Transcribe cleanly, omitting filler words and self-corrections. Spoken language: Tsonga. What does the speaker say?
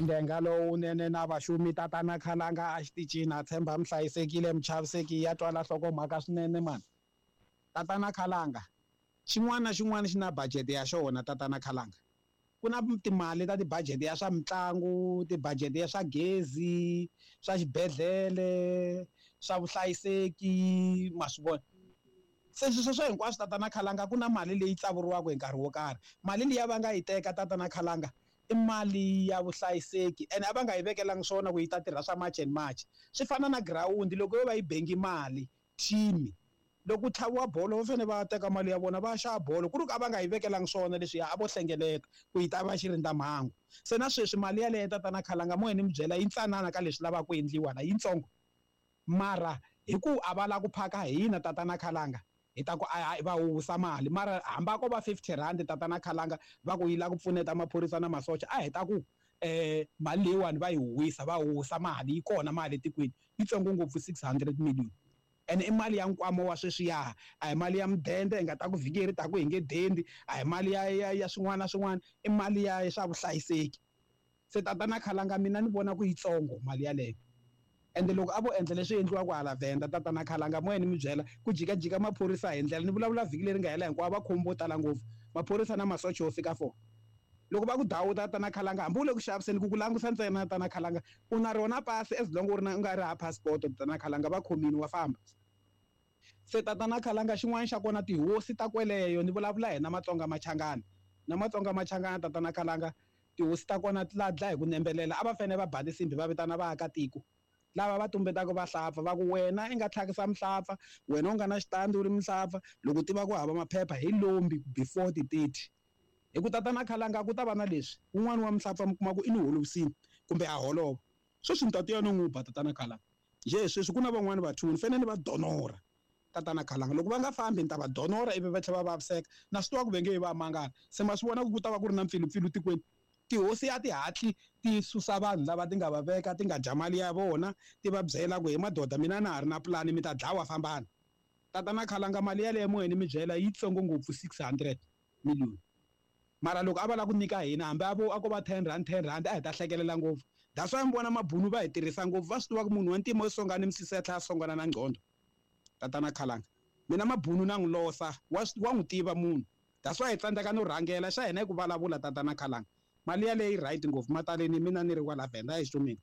Ndenga lowunene na vaxumi tatana Khalanga a xitichini a tshemba mi hlayisekile mi chaviseki ya twala nhlokomhaka swinene mani. Tatana Khalanga xin'wana na xin'wana xi na budget ya xona tatana Khalanga. Ku na timali ta ti-budget ya swa mitlangu, ti-budget ya swa gezi, swa xibedhlele, swa vuhlayiseki ma swi vona. Se swilo sweswo hinkwaswo tatana Khalanga ku na mali leyi tsavuriwaka hi nkarhi wo karhi. Mali liya va nga yi teka tatana Khalanga i mali ya vuhlayiseki ene a va nga yi vekelangi swona ku yi ta tirha swa March and March. Swi fana na girawundi loko yo va yi bengi mali team loko ku tlhaviwa bolo va fanele va teka mali ya vona va ya xava bolo ku ri ku a va nga yi vekelangi swona leswiya a vo hlengeleta ku yi ta va xirindzamhangu. Se na sweswi mali yaleyo tatana Khalanga mo ni mi byela yi ntsanana ka leswi lavaka ku endliwa la yitsongo mara hi ku a va lava ku phaka hina tatana Khalanga hi ta ku a va huwisa mali mara hambi a ko va R50 tatana Khalanga va ku yi lava ku pfuneta maphorisa na masocha a hi ta ku mali leyiwani va yi huwisa va huwisa mali yi kona mali etikweni yitsongo ngopfu 600 million ene i mali ya nkwama wa sweswiya a hi mali ya mudende hi nga ta ku vhiki leri taka hi nge dendi a hi mali ya ya ya swin'wana na swin'wana i mali ya swa vuhlayiseki se tatana Khalanga mina ni vona ku yitsongo mali yaleyo ende loko a vo endla leswi endliwaka hala Venda tatana Khalanga moya ni mi byela ku jikajika maphorisa hi ndlela ni vulavula vhiki leri nga hela hinkwavo va khomi vo tala ngopfu maphorisa na masocha yo fika 4 loko va ku dawuta tatana Khalanga hambi u le ku xaviseni ku ku langusa ntsena tatana Khalanga u na rona pasi as long u ri na u nga ri ha passport tatana Khalanga va khomini wa famba se tatana Khalanga xin'wana xa kona tihosi ta kweleyo ni vulavula hina Matsonga Machangana na Matsonga Machangana tatana Khalanga tihosi ta kona ti la dlaya hi ku nembelela a va fanele va ba tinsimbhi va vitana vaakatiko lava va tumbetaka vahlapfa va ku wena i nga tlhakisa muhlapfa wena u nga na xitandi u ri muhlapfa loko u tiva ku hava maphepha hi lombi before ti 30 hi ku tatana Khalanga ku ta va na leswi wun'wani wa muhlapfa mi kuma ku i ni holovisini kumbe a holova sweswi ni ta tiya no n'wi ba tatana Khalanga njhe sweswi ku na van'wani vathu ni fanele ni va donora tatana Khalanga loko va nga fambi ni ta va donora ivi va tlhela va vaviseka na swi tiva ku ve nge yi va mangala se ma swi vona ku ku ta va ku ri na mpfilumpfilu tikweni tihosi a ti hatli ti susa vanhu lava ti nga va veka ti nga dya mali ya vona ti va byela ku he madoda mina na ha ri na pulani mi ta dlawa fambani tatana Khalanga mali yaleyo moyeni mi byela yitsongo ngopfu 600 million mara loko a va lava ku nyika hina hambi a vo a ko va R10 R10 a hi ta hlekelela ngopfu that's why mi vona mabunu va hi tirhisa ngopfu va swi tiva ku munhu wa ntima yo songana misisi ya tlhela a songana na nqondo tatana Khalanga mina mabunu na n'wi losa wa wa n'wi tiva munhu that's why hi tsandzeka no rhangela xa hina hi ku vulavula tatana Khalanga mali yaleyo yi right ngopfu mataleni mina ni ri kwala Venda a hi xumini.